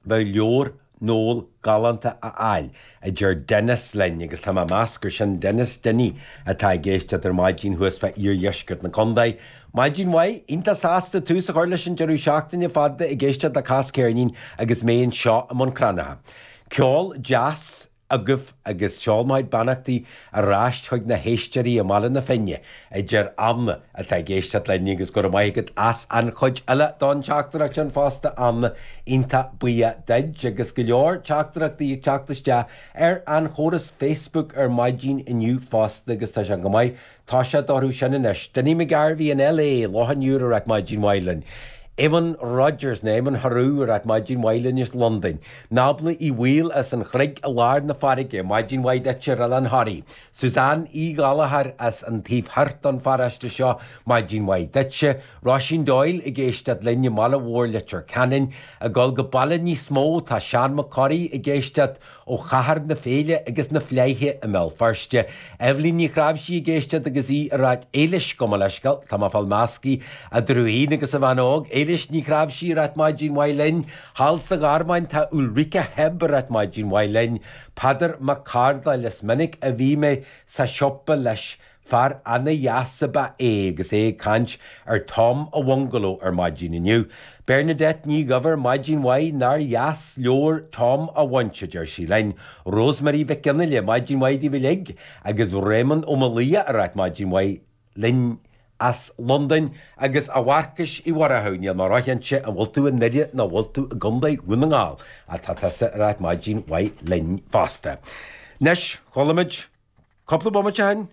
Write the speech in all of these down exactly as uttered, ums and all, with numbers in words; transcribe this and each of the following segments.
Bheadh leabhar Noel galánta a fháil, a deir Dennis linn, agus tá mé ag meas gur sin Dennis Dinny atá ag éisteacht ar maidin thuas fá iardheisceart na contae. Maidin mhaith, iontach sásta tús a chur leis an deireadh seachtaine fada ag éisteacht le Cas Ceirnín agus mé anseo i mbun Cranncha. Ceol deas agaibh agus seol mo chuid beannachtaí ar ais chuig na héisteoirí i mBaile na Finne, a deir Anna atá ag éisteacht linn agus go raibh maith agat as an chuid eile don teachtaireacht sin fosta Anna, iontach buíoch duit agus go leor teachtaireachtaí ag teacht isteach ar an chóras Facebook ar maidin inniu fosta agus tá sé go maith toiseacht orthu sin anois. Dinny McGarvey in LA, Loch an Iúir ag ráit maidin mhaith linn. Eamon Rogers nó Eamon Harú ag ráit maidin mhaith linn as Londain. Nábla Uí Bhaoill as an Chreig i lár na farraige, maidin mhaith duit ar Oileán Thoraí. Suzanne Uí Ghallchóir as an taobh thoir don pharóiste seo, maidin mhaith duitse. Róisín Doyle ag éisteacht linn i mBaile Mhór Leitir Ceanainn. Ag dul go baile níos mó tá Seán Mac Corraidh ag éisteacht ó chathair na féile agus na fleidhe i mBéal Feirste. Eibhlín Ní Chráimhsí ag éisteacht agus í ag ráit Éilis gabh mo leithscéal, tá mé ag fáil measctha idir í féin agus a bhean óg, Éilis Ní Chráimhsí ag ráit maidin mhaith linn, thall sa Ghearmáin tá Ulrike Heb ag ráit maidin mhaith linn, Peadar Mac Cárdáil is minic a bhí mé sa siopa leis Fear ana-dheas ab ea é agus é ag caint ar Tom a Bhungaló ar maidin inniu. Bernadette Ní Dhuibhir maidin mhaith nár dheas leabhar Tom a bhaint, a deir sí linn. Rosemary Mhic Fhionnaile, maidin mhaith daoibh uilig, agus Réamonn Ó Maolaodha ag ráit maidin mhaith linn as Londain agus a Mharcais Uí Mhurchú, níl mé róchinnte an bhfuil tú i nDoire nó an bhfuil tú i gContae Dhún na nGall, ach tá tusa ag ráit maidin mhaith linn fosta. Anois, chuala muid cúpla bomaite ó shin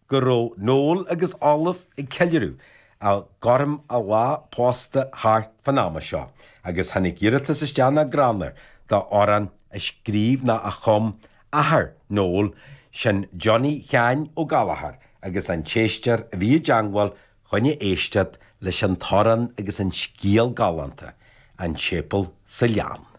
go raibh Noel agus Olive ag ceiliúradh a gcothrom an lá pósta thart fán ama seo agus tháinig iarratas isteach nach greannmhar d'amhrán a scríobh nó a chum athair Noel, sin Johnny Sheáin Ó Gallchóir agus an t-éisteoir a bhí i dteangmháil chun éisteacht leis an t-amhrán agus an scéal galánta, An Séipéal sa Ghleann.